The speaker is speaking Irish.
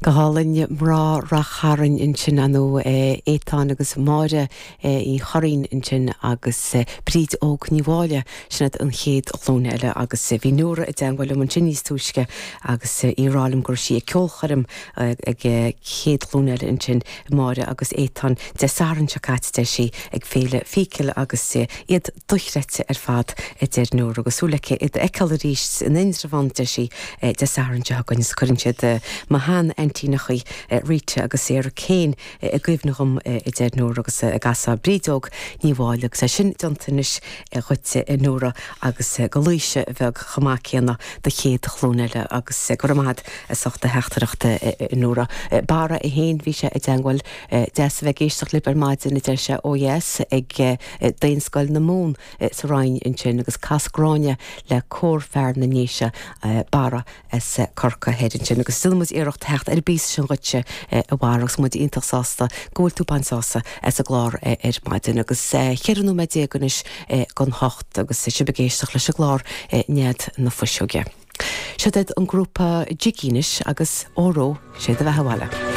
Go hálainn, mná Rath Chairn ansin, ar ndóigh, Étáin agus Máire Uí Churraoin ansin agus Bríd Óg Ní Mháille, sin iad an chéad ghlúin eile agus bhí Nóra i dteangmháil liom ansin níos túisce agus í ag rá liom go raibh sí ag ceolchoirm ag chéad ghlúin eile ansin, Máire agus Étáin, Dé Sathairn seo caite, deir sí, ag Féile Phicil agus iad dochreidte ar fad, a deir Nóra, agus súil aici iad a fheiceáil arís in Indreabhán, deir sí, Dé Sathairn seo chugainn agus cuireann siad mo shean-aintíneachaí Rita agus Sarah Kane i gcuimhne dhom, a deir Nóra, agus a gcasadh Bríd Óg Ní Mháille agus é sin déanta anois dhuit, a Nóra, agus do Laoise bheag chomh maith céanna, do chéad ghlúin eile agus go raibh maith agat as ucht do theachtaireacht, a Nóra. Barra é féin, bhí sé i dteangmháil, deas a bheith ag éisteacht libh ar maidin, a deir sé, ó dheas ag Daonscoil na Mumhan sa Rinn ansin agus cas Gráinne le Cór Fear na nDéise, Barra as Corcaigh thoir ansin agus déanfaidh muid iarracht theacht ar an bpíosa sin dhuitse a Bharra agus muid iontach sásta go bhfuil tú ag baint sásamh as an gclár ar maidin agus 14 nóiméad anois don hocht agus sibh ag éisteacht leis an gclár Nead na Fuiseoige. Seo iad an grúpa Jiggy anois agus Óró Sé do Bheatha Abhaile.